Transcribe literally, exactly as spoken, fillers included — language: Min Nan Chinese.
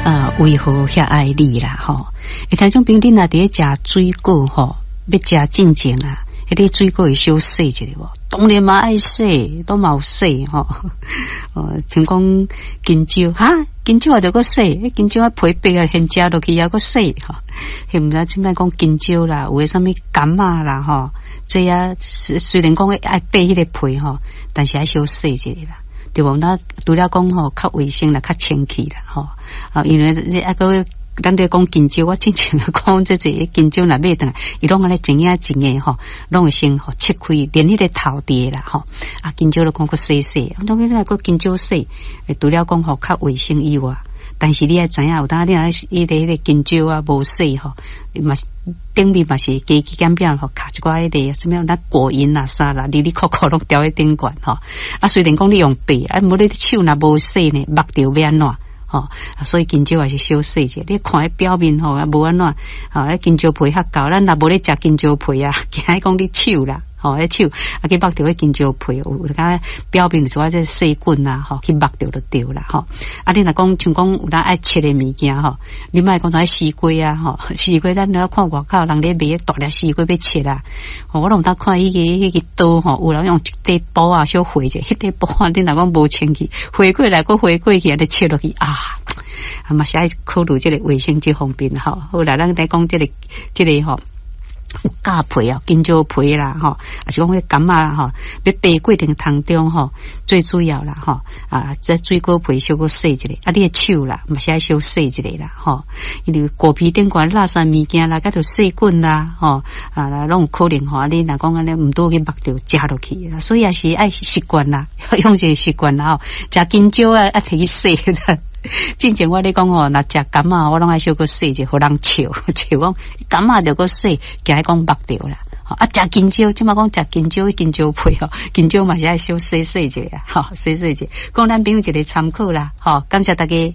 啊，為何遐愛你啦？吼，欸，聽眾朋友，你若佇咧食水果吼，欲食進前啊，彼个水果會小洗一下無？當然嘛愛洗，都嘛有洗吼。哦，像講香蕉，哈，香蕉也著閣洗，香蕉仔皮白啊，現食落去猶閣洗吼。彼毋知凊擺講香蕉啦，有的啥物柑仔啦吼，這啊雖然講愛剝彼个皮吼，但是愛小洗一下啦。對無？那除了講吼較衛生啦，較清氣啦，吼啊，因為你啊閣咱咧講香蕉，我之前講這個香蕉若買轉來，伊攏按呢一影一影吼，攏會先予切開，連彼个頭佇啦吼。啊，香蕉都講閣洗洗，當然閣香蕉洗，除了講吼較衛生以外，但是你愛知影，有當你若彼个彼个香蕉啊無洗吼，嘛是頂面嘛是加加減減吼，卡一寡彼个啥物咱果蠅啊啥啦，哩哩扣扣攏牢佇頂懸吼。啊，雖然講你用剝，啊，無你手若無洗呢，目著欲按怎？吼，所以香蕉也是小洗者。你看彼表面吼，啊無按怎，吼，彼香蕉皮較厚，咱若無咧食香蕉皮啊，驚講你手啦，吼，彼手啊去目著彼香蕉皮，有較表面有一寡這細菌啊，吼，去目著就對啦，吼。啊，你若講像講有當愛切的物件吼，你莫講愛西瓜啊，吼，西瓜咱咧看外口人咧賣大粒西瓜欲切啊，我攏有當看彼個彼个刀吼，有人用一塊布仔小劃者，彼塊布仔你若講無清氣，劃過來閣劃過去，按呢切落去啊。啊嘛是愛考慮這个衛生這方面吼。好來，咱來講這个這个吼，有咬皮啊，香蕉皮啦，吼，抑是講彼柑仔吼，欲剝過程當中吼，最主要啦，吼，啊，這水果皮小可洗一下，啊，你的手啦，嘛是愛小洗一下啦，吼，因為果皮頂懸垃圾物件啦，佮著細菌啦，吼，啊，攏有可能吼，啊，你若講按呢毋拄去目著食落去，所以也是愛習慣啦，養成習慣啦，吼，食香蕉啊，愛提去洗。進前我咧講吼，若食柑仔，我攏愛小可洗者，予人笑，笑講柑仔著閣洗，驚講目著啦。啊，食香蕉，這馬講食香蕉，香蕉皮吼，香蕉嘛是愛小洗洗者，吼，洗洗者，供咱朋友一个參考啦，吼，感謝大家。